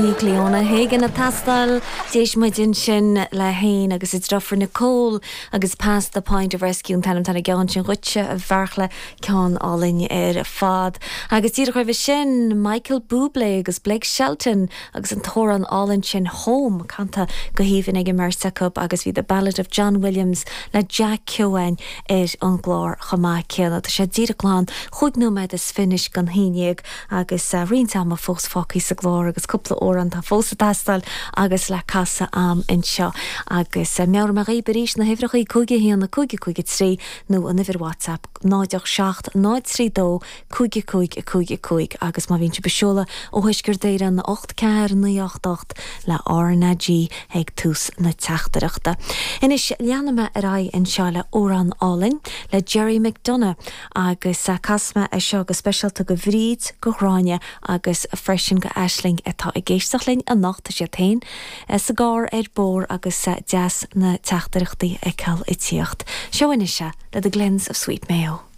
Bhí Cliona Hagan ag teastáil. D'éist muid ansin le féin agus a deirfiúr Nicole agus Past the Point of Rescue an t-ainm atá ar an gceann sin dhuitse, a Bheartla, ceann álainn ar fad. Agus díreach roimhe sin, Michael Bublé agus Blake Shelton agus an t-amhrán álainn sin Home, canta go haoibhinn ag an mbeirt acu agus bhí The Ballad of John Williams le Jack Keoghan ar an gclár chomh maith céanna. Tá sé díreach glan chúig nóiméad is fiche anois don haon dhéag agus roinnt ama fós fágtha sa gclár agus cúpla amhrán atá fós ag teastáil agus le casadh a'm anseo. Agus meabhróidh mé dhaoib arís na huimhreachaí 5 1 5 5 3 nó an uimhir WhatsApp 0 8 7 0 3 2 5 5 5 5 agus má bhíonn sibh ag seoladh ó Thuaisceart Éireann 8 4 9 8 8 le RnaG ag tús na teachtaireachta. Anois leanfaidh mé ar aghaidh anseo le amhrán álainn le Gerry McDonagh agus casfaidh mé é seo go speisialta go Bhríd, go Ghráinne agus freisin go Aisling atá ag éisteacht linn anocht, tá siad féin sa gcarr ar bóthar agus deas na teachtaireachtaí a fheiceáil ag tíocht. Seo anois é le The Glens of Sweet Mayo.